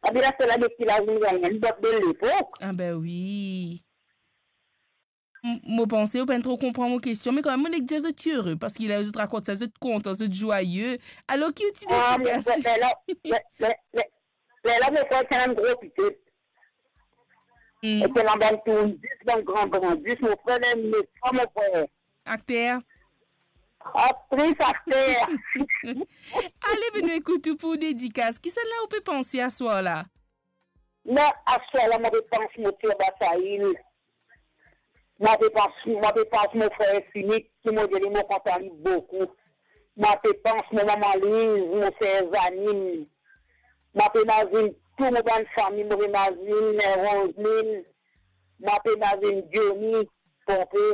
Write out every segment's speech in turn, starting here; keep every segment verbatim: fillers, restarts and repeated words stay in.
Abi la, se la depi la, ou gagn enn bot de lepok. Ah ben wi. M-, mo panse ou pa'nn tro konpran mo kestion, me kanmem, mo nek dir zot ti ere, parski la zot rakont sa, zot kontan, zot zwaye. Alor ki ou ti... Ah, mo dedikas? Frer, lerla, ler, ler, ler, lerla, mo frer ti ena enn gro pitit. Hmm. E ti ena bann tourn zis, bann gran gran zis, mo frer, ler mo frer, mo frer. Akter? Aktris, akter. Ale, ben nou ekout ou pou dedikas. Kisannla ou pe panse aswar la? Me aswar la, mo pe pans mo tir Basail. Mo pe pans, mo pe pans mo frer Sinik, ki mo dir li mo kontan li boukou. Mo pe pans mo mama Liz, mo ser Zanine. Mo pe mazinn tou mo bann fami, mo pe mazinn, eh, Roseline. Mo pe mazinn Johnny, Ponpe.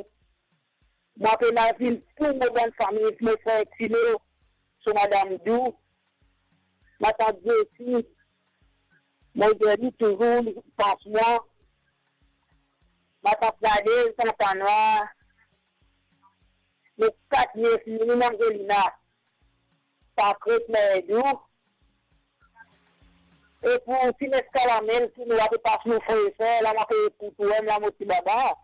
Mo pe mazinn tou mo bann fami, mo frer Tino, so madam Dou, matant Jessie, mo dir li touzour li pans mwa, matant Nadez, Tantanwa, mo kat nies, Nini, Angelina, Patrick, Merdou, e pou Sineska Lamel, ki nou la pe pas nou frer, ser, la mo pe ekout ou, la mo ti baba.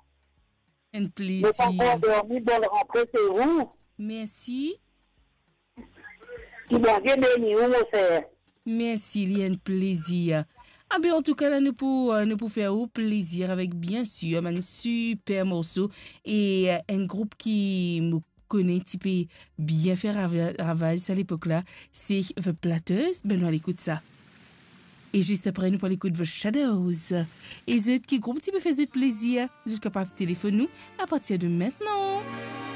Enn plezir. Mo pa ankor dormi, bonn rantre se ou. Mersi. Ki Bondie beni ou, mo ser. Mersi, li enn plezir. Ah ben, antouka, la, nou pou, euh, nou pou fer ou plezir avek, bien sir, bann siper morso e, euh, enn group ki mo kone ti pe bien fer rava-, ravaz sa lepok la, se The Platters. Ben, nou al ekout sa. E zis apre, nou pou al ekout The Shadows. E zot, ki group ti pe fer zot plezir, zot kapav telefonn nou apartir de mintnan.